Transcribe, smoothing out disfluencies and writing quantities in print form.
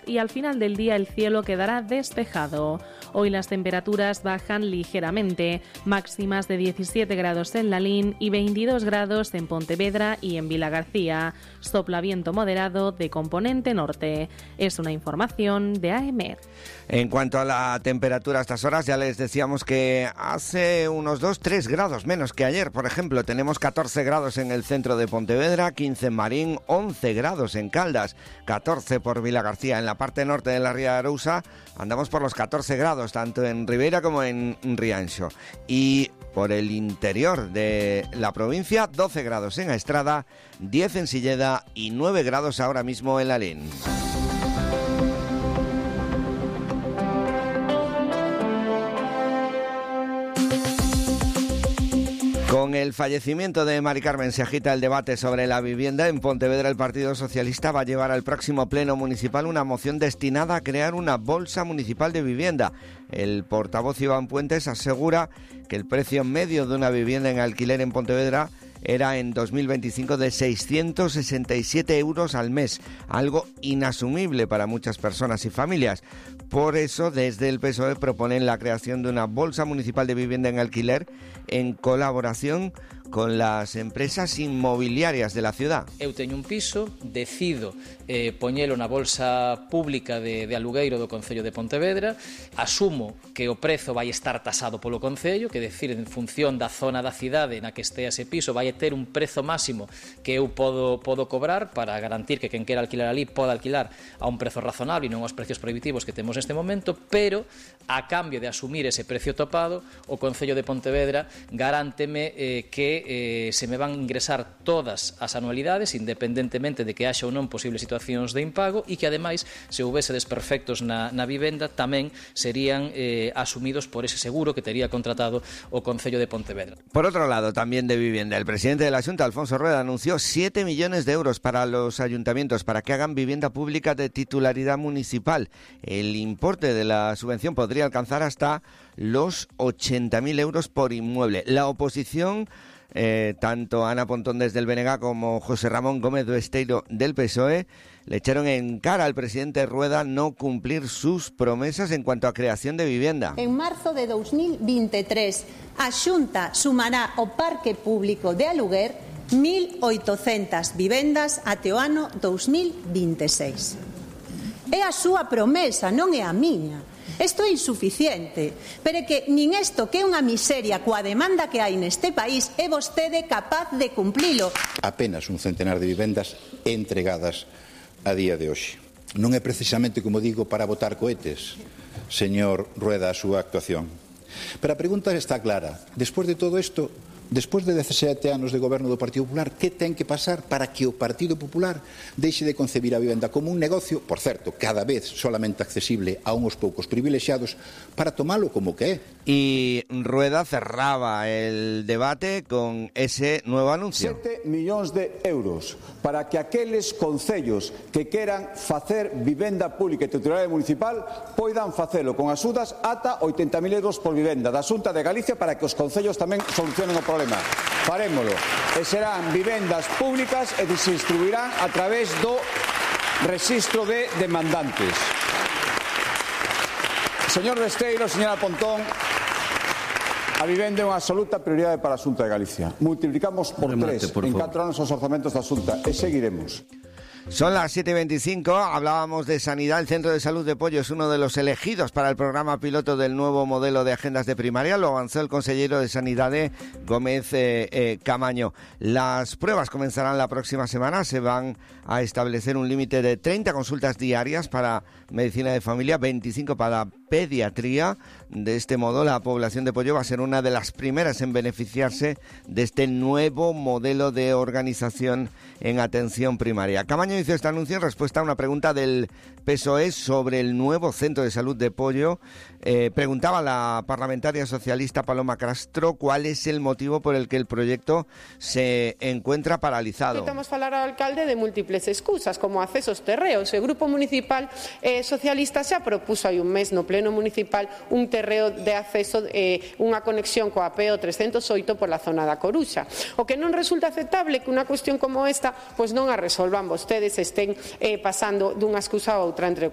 y al final del día el cielo quedará despejado. Hoy las temperaturas bajan ligeramente, máximas de 17 grados en Lalín y 22 grados en Pontevedra y en Vilagarcía. Sopla viento moderado de componente norte. Es una información de AEMET. En cuanto a la temperatura a estas horas, ya les decíamos que hace unos 2-3 grados menos que ayer. Por ejemplo, tenemos 14 grados en el centro de Pontevedra, 15 en Marín, 11 grados en Caldas, 14 por Vilagarcía. En la parte norte de la Ría de Arousa andamos por los 14 grados, tanto en Ribeira como en Rianxo. Y por el interior de la provincia, 12 grados en Estrada, 10 en Silleda y 9 grados ahora mismo en Lalín. Con el fallecimiento de Mari Carmen se agita el debate sobre la vivienda. En Pontevedra el Partido Socialista va a llevar al próximo pleno municipal una moción destinada a crear una bolsa municipal de vivienda. El portavoz Iván Puentes asegura que el precio medio de una vivienda en alquiler en Pontevedra era en 2025 de 667 euros al mes, algo inasumible para muchas personas y familias. Por eso, desde el PSOE proponen la creación de una bolsa municipal de vivienda en alquiler en colaboración con las empresas inmobiliarias de la ciudad. Eu teño un piso, decido poñelo na bolsa pública de alugueiro do Concello de Pontevedra, asumo que o prezo vai estar tasado polo Concello, que decir, en función da zona da cidade na que estea ese piso, vai ter un prezo máximo que eu podo cobrar para garantir que quen quera alquilar ali poda alquilar a un prezo razonable e non aos precios prohibitivos que temos neste momento, pero a cambio de asumir ese precio topado, o Concello de Pontevedra garánteme que se me van a ingresar todas as anualidades, independentemente de que haxa ou non posibles situacións de impago, e que ademais, se houbese desperfectos na vivenda, tamén serían asumidos por ese seguro que tería contratado o Concello de Pontevedra. Por otro lado, también de vivienda, el presidente de la Xunta, Alfonso Rueda, anunció 7 millones de euros para los ayuntamientos para que hagan vivienda pública de titularidad municipal. El importe de la subvención podría alcanzar hasta los 80.000 euros por inmueble. La oposición, tanto Ana Pontón desde el BNG como José Ramón Gómez do Esteiro del PSOE, le echaron en cara al presidente Rueda no cumplir sus promesas en cuanto a creación de vivienda. En marzo de 2023, a Xunta sumará ao parque público de aluguer 1.800 vivendas até o ano 2026. É a súa promesa, non é a miña. Isto é insuficiente, pero é que nin isto, que é unha miseria coa demanda que hai neste país, é vostede capaz de cumplilo. Apenas un centenar de vivendas entregadas a día de hoxe. Non é precisamente, como digo, para botar cohetes, señor Rueda, a súa actuación. Pero a pregunta está clara. Despois de todo isto, despois de 17 anos de goberno do Partido Popular, que ten que pasar para que o Partido Popular deixe de concebir a vivenda como un negocio, por certo, cada vez solamente accesible a uns poucos privilexiados, para tomalo como que é? Y Rueda cerraba el debate con ese nuevo anuncio. 7 millóns de euros para que aqueles concellos que queran facer vivenda pública e titularidade municipal poidan facelo con axudas ata 80.000 euros por vivenda da Xunta de Galicia para que os concellos tamén solucionen o problema. Farémolo. E serán vivendas públicas e se distribuirán a través do rexistro de demandantes. Señor Besteiro, señora Pontón, a vivenda é unha absoluta prioridade para a Xunta de Galicia. Multiplicamos por 3 en 4 anos os orzamentos da Xunta e seguiremos. Son las 7:25, hablábamos de sanidad. El Centro de Salud de Pollo es uno de los elegidos para el programa piloto del nuevo modelo de agendas de primaria. Lo avanzó el consejero de Sanidad Gómez Camaño. Las pruebas comenzarán la próxima semana. Se van a establecer un límite de 30 consultas diarias para medicina de familia, 25 para pediatría. De este modo, la población de Pollo va a ser una de las primeras en beneficiarse de este nuevo modelo de organización en atención primaria. Camaño hizo este anuncio en respuesta a una pregunta del PSOE sobre el nuevo centro de salud de Pollo. Preguntaba la parlamentaria socialista Paloma Castro cuál es el motivo por el que el proyecto se encuentra paralizado. Intentamos falar ao alcalde de múltiples excusas, como accesos terreos. O Grupo Municipal Socialista xa propuso hai un mes no Pleno Municipal un terreo de acceso, unha conexión coa PO 308 pola zona da Coruxa. O que non resulta aceptable que unha cuestión como esta pois non a resolvan vostedes vostedes estén pasando dunha excusa a outra entre o